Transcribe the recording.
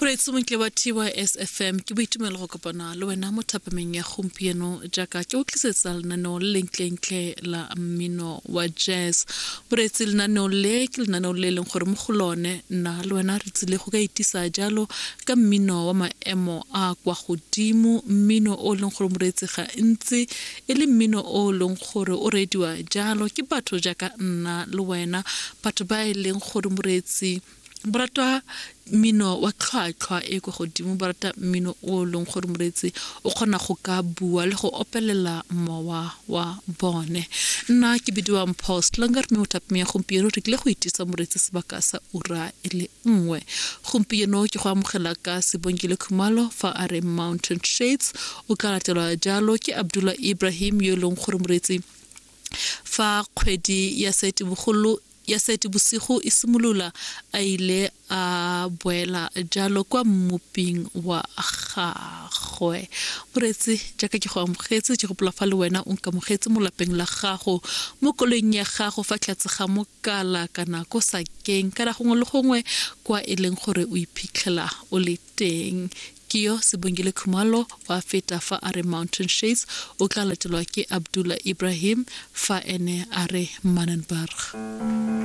Moreetsi montle wa TYS FM, ke boitumelo go kopana le wena mo thapameng ya gompieno jaaka ke o tlisetsa lenaneo le lentlentle la mmino wa jazz. Moreetsi, lenaneo le ke lenaneo le e leng gore mo go lone nna le wena re tsile go ka itisa jalo ka mmino wa maemo a kwa godimo, mmino o e leng gore moreetsi ga ntsi e le mmino o e leng gore o reediwa jalo ke batho jaaka nna le wena, batho ba e leng gore moreetsi ba rata mmino wa tlhwatlhwa e kwa godimo, ba rata mmino o e leng gore moreetsi o kgona go ka bua le go opelela mowa wa bone. Nna ke bidiwa Mpho Slinger, mme mo thapeng ya gompieno re tlile go itisa moreetsi sebaka sa ura e le nngwe. Gompieno ke go amogela ka Sibongile Khumalo fa a re Mountain Shades, o tla latelwa jalo ke Abdullah Ibrahim yo e leng gore moreetsi fa kgwedi ya Seetebogolo ya Seetebosigo e simolola a ile a boela jalo kwa mmoping wa gagwe. Moreetsi, jaaka ke go amogetse, ke gopola fa le wena o nkamogetse mo lapeng la gago, mo koloing ya gago, fa tlatse ga mokala kana ko sakeng kana gongwe le gongwe kwa e leng gore o iphitlhela o le teng. Ke yo Sibongile Khumalo wa feta fa a re Mountain Shades, o tla latelwa ke Abdullah Ibrahim fa ene a re Manenberg.